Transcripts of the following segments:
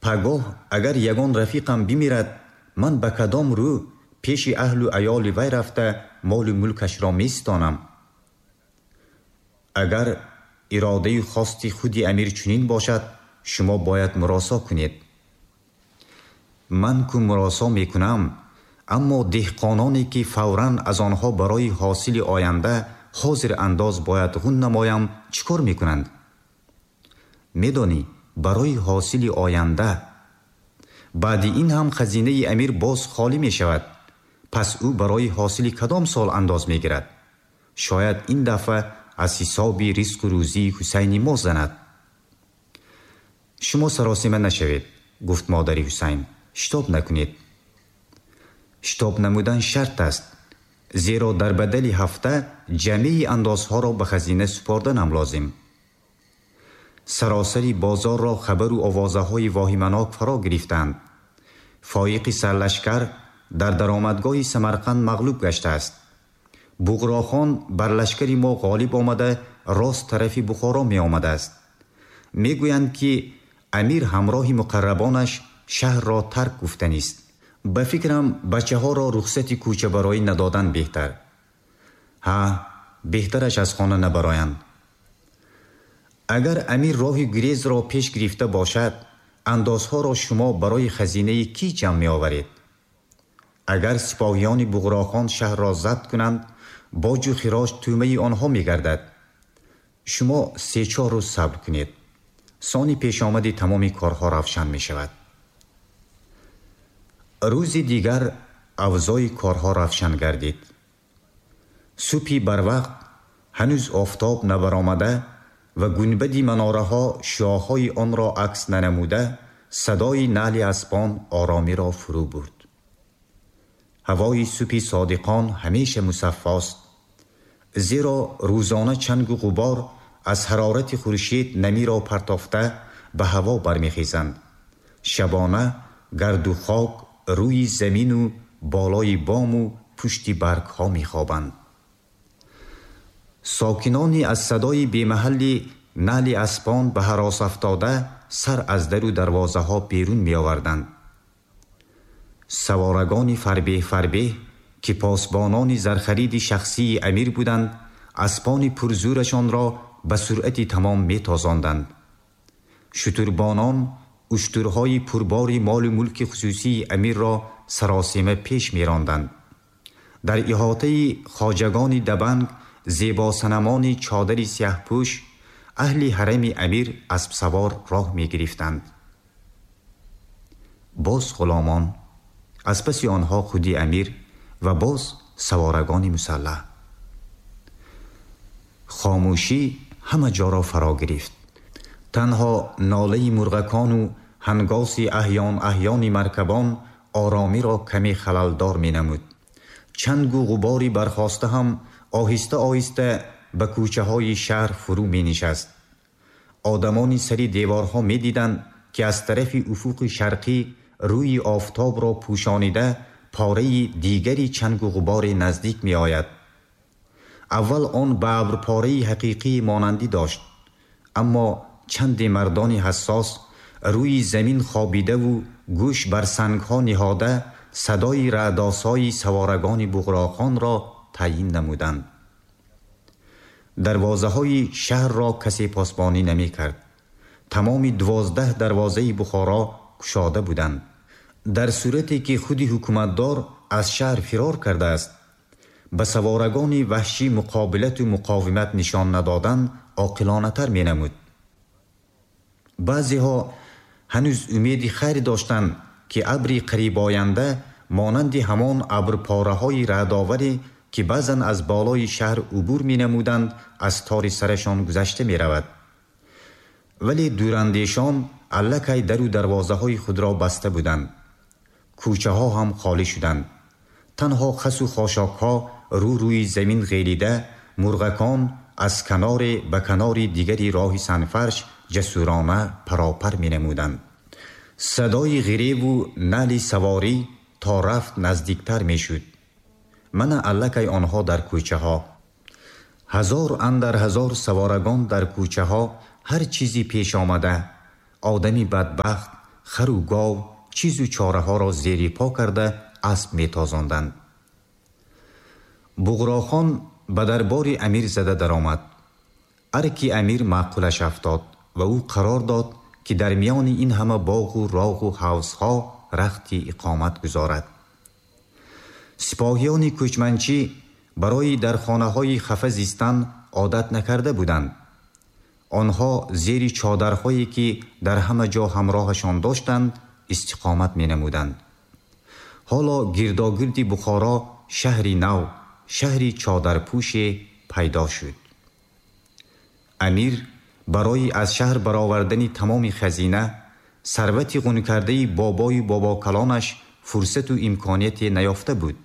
Пагоҳ агар ягон рафиқам бимирад, ман ба кадом рӯ пеши аҳлу аёли вай рафта молу мулкашро меситонам? Агар иродаю хости худи амир чунин бошад, шумо бояд муросо кунед. Ман ку муросо мекунам, аммо деҳқононе ки фавран аз онҳо барои ҳосили оянда ҳозир андоз бояд ғун намоям, чӣ кор мекунанд? Медонӣ, барои ҳосили оянда. Баъди ин ҳам хазинаи амир боз холӣ мешавад. Пас ӯ барои ҳосили кадом сол андоз мегирад? Шояд ин дафъа аз ҳисоби ризқу рӯзии Ҳусайни мо занад. Шумо саросима нашавед, гуфт модари Ҳусайн. Шитоб накунед. Шитоб намудан шарт аст, зеро дар бадали ҳафта ҷамеи андозҳоро ба хазина супорданам лозим. Саросари бозорро хабару овозаҳои воҳиманок фаро гирифтанд. Фоиқи сарлашкар дар даромадгоҳи Самарқанд мағлуб гаштааст. Буғрохон бар лашкари мо ғолиб омада, рост тарафи Бухоро меомадааст. Мегӯянд, ки амир ҳамроҳи муқаррабонаш шаҳрро тарк гуфтанист. Ба фикрам, бачаҳоро рухсати кӯчабароӣ надодан беҳтар. Ҳа, беҳтараш аз хона набароянд. Агар амир роҳи гурезро пеш гирифта бошад, андозҳоро шумо барои хазинаи кӣ ҷамъ меоваред? Агар сипоҳиёни Буғрохон шаҳрро забт кунанд, боҷу хироҷ тӯъмаи онҳо мегардад. Шумо се-чор рӯз сабр кунед. Сони пешомади тамоми корҳо равшан мешавад. Рӯзи дигар авзои корҳо равшан гардид. Субҳи барвақт ҳанӯз офтоб набаромада ва гунбади манораҳо шуоҳои онро акс нанамуда, садои наъли аспон оромиро фурӯ бурд. Ҳавои субҳи содиқон ҳамеша мусаффост, зеро рӯзона чангу ғубор аз ҳарорати хуршед намиро партофта ба ҳаво бармехезанд. Шабона гарду хок рӯи замину болои бому пушти баргҳо мехобанд. Сокинони аз садои бемаҳалли наъли аспон ба ҳарос афтода сар аз дару дарвозаҳо берун меоварданд. Саворагони фарбеҳ фарбеҳ, ки посбонони зархариди шахсии амир буданд, аспони пурзӯрашонро ба суръати тамом метозонданд. Шутурбонон уштурҳои пурбори молу мулки хусусии амирро саросема пеш меронданд. Дар иҳотаи хоҷагони дабанг, зебосанамони чодари сиёҳпӯш, аҳли ҳарами амир аспсавор роҳ мегирифтанд. Боз ғуломон, аз паси онҳо худи амир ва боз саворагони мусаллаҳ. Хомӯшӣ ҳама ҷоро фаро гирифт. Танҳо нолаи мурғакону ҳангоси аҳён аҳёни маркабон оромиро каме халалдор менамуд. Чангу ғубори бархоста ҳам оҳиста оҳиста ба кӯчаҳои шаҳр фурӯ менишаст. Одамони сари деворҳо медиданд, ки аз тарафи уфуқи шарқӣ рӯи офтобро пӯшонида пораи дигари чангу ғуборе наздик меояд. Аввал он ба абрпораи ҳақиқӣ монандӣ дошт, аммо чанде мардони ҳассос рӯи замин хобидаву гӯш бар сангҳо ниҳода садои раъдосои саворагони Буғроқонро таъйин намуданд. Дарвозаҳои шаҳрро касе посбонӣ намекард. Тамоми 12 дарвозаи Бухоро кушода буданд. Дар сурате ки худи ҳукуматдор аз шаҳр фирор кардааст, ба саворагони ваҳшӣ муқобилату муқовимат нишон надодан оқилонатар менамуд. Баъзеҳо ҳанӯз умеди хайр доштанд, ки абри қарибоянда монанди ҳамон абрпораҳои раъдоваре, ки баъзан аз болои шаҳр убур менамуданд, аз тори сарашон гузашта меравад. Вале дурандешон аллакай дару дарвозаҳои худро баста буданд. Кӯчаҳо ҳам холӣ шуданд. Танҳо хасу хошокҳо рӯ рӯи замин ғелида, мурғакон аз каноре ба канори дигари роҳи санфарш ҷасурона паропар менамуданд. Садои ғиреву наъли саворӣ то рафт наздиктар мешуд. Мана аллакай онҳо дар кӯчаҳо. Ҳазор андар ҳазор саворагон дар кӯчаҳо ҳар чизи пеш омада, одами бадбахт, хару гов, чизу чораҳоро зери по карда асп метозонданд. Буғрохон ба дарбори амир зада даромад. Арки амир маъқулаш афтод ва ӯ қарор дод, ки дар миёни ин ҳама боғу роғу ҳавзҳо рахти иқомат гузорад. Сипоҳиёни кӯчманчӣ барои дар хонаҳои хафа зистан одат накарда буданд. Онҳо зери чодарҳое, ки дар ҳама ҷо ҳамроҳашон доштанд, истиқомат менамуданд. Ҳоло гирдогирди Бухоро шаҳри нав, шаҳри чодарпӯше пайдо шуд. Амир барои аз шаҳр баровардани тамоми хазина, сарвати ғункардаи бобою бобокалонаш фурсату имконияте наёфта буд.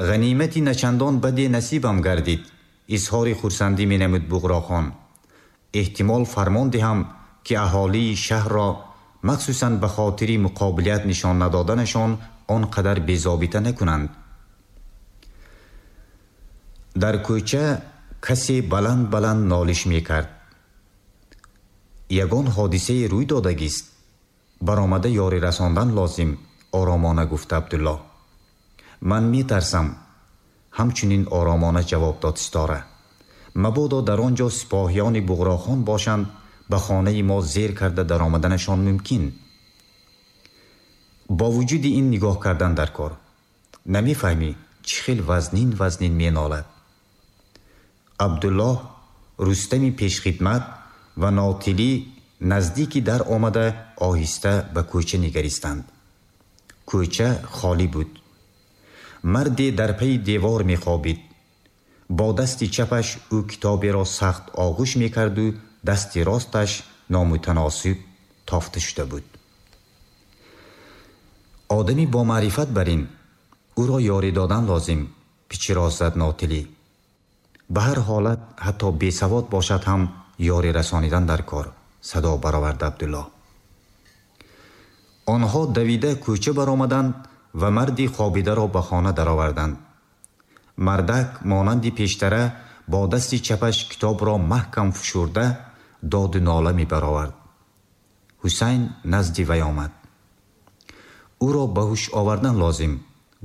Ғанимати начандон баде насибам гардид, изҳори хурсандӣ менамуд Буғрохон. Эҳтимол фармон диҳам, ки аҳолии шаҳрро махсусан ба хотири муқобилият нишон надоданашон он қадар безобита накунанд. Дар кӯча касе баланд баланд нолиш мекард. Ягон ҳодисае рӯй додагист, баромада ёрӣ расондан лозим, оромона гуфт Абдуллоҳ. Ман метарсам, ҳамчунин оромона ҷавоб дод Ситора. Мабодо дар он ҷо сипоҳиёни Буғрохон бошанд, ба хонаи мо зер карда даромаданашон мумкин. Бо вуҷуди ин нигоҳ кардан дар кор. Намефаҳмӣ, чӣ хел вазнин вазнин менолад. Абдуллоҳ, Рустами пешхидмат ва Нотилӣ наздики дар омада оҳиста ба кӯча нигаристанд. Кӯча холӣ буд. Марде дар пайи девор мехобид. Бо дасти чапаш ӯ китоберо сахт оғӯш мекарду дасти росташ номутаносиб тофта шуда буд. Одами бомаърифат бар ин, ӯро ёрӣ додан лозим, пичироз зад Нотилӣ. Ба ҳар ҳолат ҳатто бесавод бошад ҳам ёрӣ расонидан дар кор, садо баровард Абдуллоҳ. Онҳо давида кӯча баромаданд ва марди хобидаро ба хона дароварданд. Мардак монанди пештара бо дасти чапаш китобро маҳкам фушурда доду нола мебаровард. Ҳусайн назди вай омад. Ӯро ба ҳуш овардан лозим,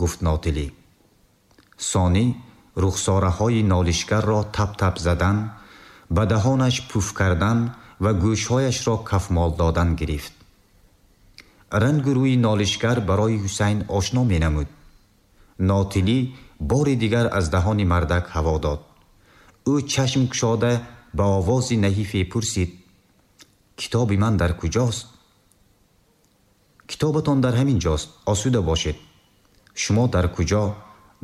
гуфт Нотилӣ. Сонӣ рухсораҳои нолишгарро тап-тап задан, ба даҳонаш пуф кардан ва гӯшҳояшро кафмол додан гирифт. Рангу рӯи нолишгар барои Ҳусайн ошно менамуд. Нотилӣ бори дигар аз даҳони мардак ҳаво дод. Ӯ чашм кушода ба овози наҳифе пурсид: китоби ман дар куҷост? Китобатон дар ҳамин ҷост, осуда бошед. Шумо дар куҷо,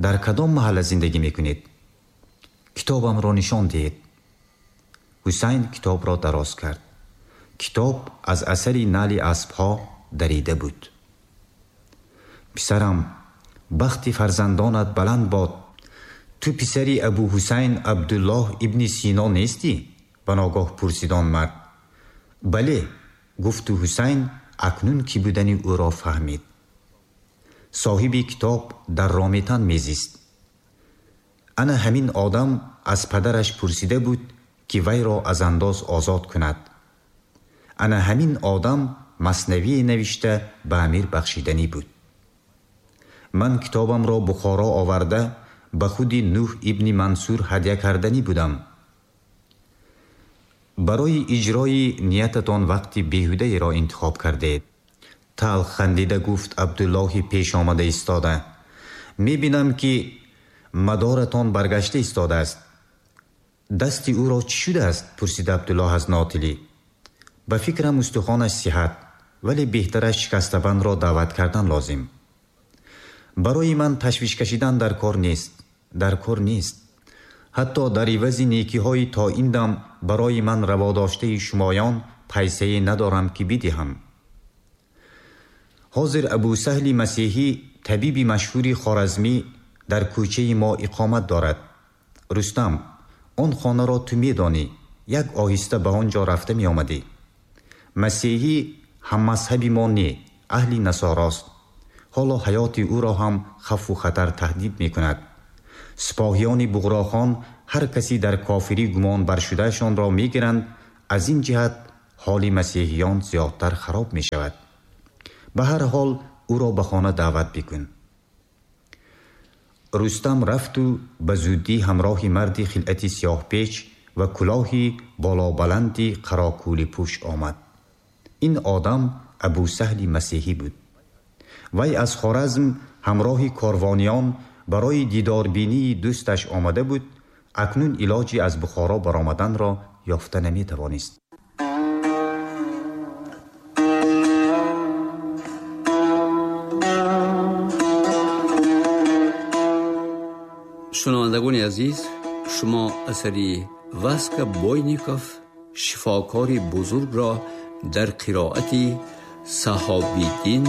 дар кадом маҳалла зиндагӣ мекунед? Китобамро нишон диҳед. Ҳусайн китобро дароз кард. Китоб аз асари нали аспҳо дарида буд. Писарам, бахти фарзандонат баланд бод. Ту писари Абу Ҳусайн Абдуллоҳ ибни Сино нестӣ? Ба ногоҳ пурсид он мард. Бале, гуфту Ҳусайн акнун кӣ будани ӯро фаҳмид. Соҳиби китоб дар Рометан мезист. Ана ҳамин одам аз падараш пурсида буд, ки вайро аз андоз озод кунад. Ана ҳамин одам маснавие навишта ба амир бахшиданӣ буд. Ман китобамро Бухоро оварда ба худи Нӯҳ ибни Мансур ҳадя карданӣ будам. Барои иҷрои ниятатон вақти беҳудаеро интихоб кардед. Талх хандида гуфт Абдуллоҳи пеш омада истода. Мебинам, ки мадоратон баргашта истодааст. Дасти ӯро чӣ шудааст? Пурсид Абдуллоҳ аз Нотилӣ. Ба фикрам, устухонаш сиҳат, вале беҳтараш шикастабандро даъват кардан лозим. Барои ман ташвиш кашидан дар кор нест, дар кор нест. Ҳатто дар ивази некиҳои то ин дам барои ман раводоштаи шумоён пайсае надорам, ки бидиҳам. Ҳозир Абусаҳли Масеҳӣ, табиби машҳури хоразмӣ, дар кӯчаи мо иқомат дорад. Рустам, он хонаро ту медонӣ, як оҳиста ба он ҷо рафта меомадӣ. Масеҳӣ ҳаммазҳаби мо не, аҳли насорост. Ҳоло ҳаёти ӯро ҳам хавфу хатар таҳдид мекунад. Сипоҳиёни Буғрохон ҳар каси дар кофирӣ гумон баршудаашонро мегиранд. Аз ин ҷиҳат ҳоли масеҳиён зиёдтар хароб мешавад. Ба ҳар ҳол ӯро ба хона даъват бикун. Рустам рафту ба зудӣ ҳамроҳи марди хилъати сиёҳпеч ва кулоҳи болобаланди қарокӯлипӯш омад. Ин одам Абусаҳли масеҳӣ буд. Вай аз Хоразм ҳамроҳи корвониён барои дидорбинии дӯсташ омада буд, акнун илоҷи аз Бухоро баромаданро ёфта наметавонист. Шунавандагони азиз, шумо асари Васка Бойников «Шифокори бузургро» дар қироати Саҳобиддин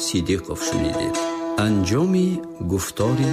Сидиқов шунидед. Анҷоми гуфтори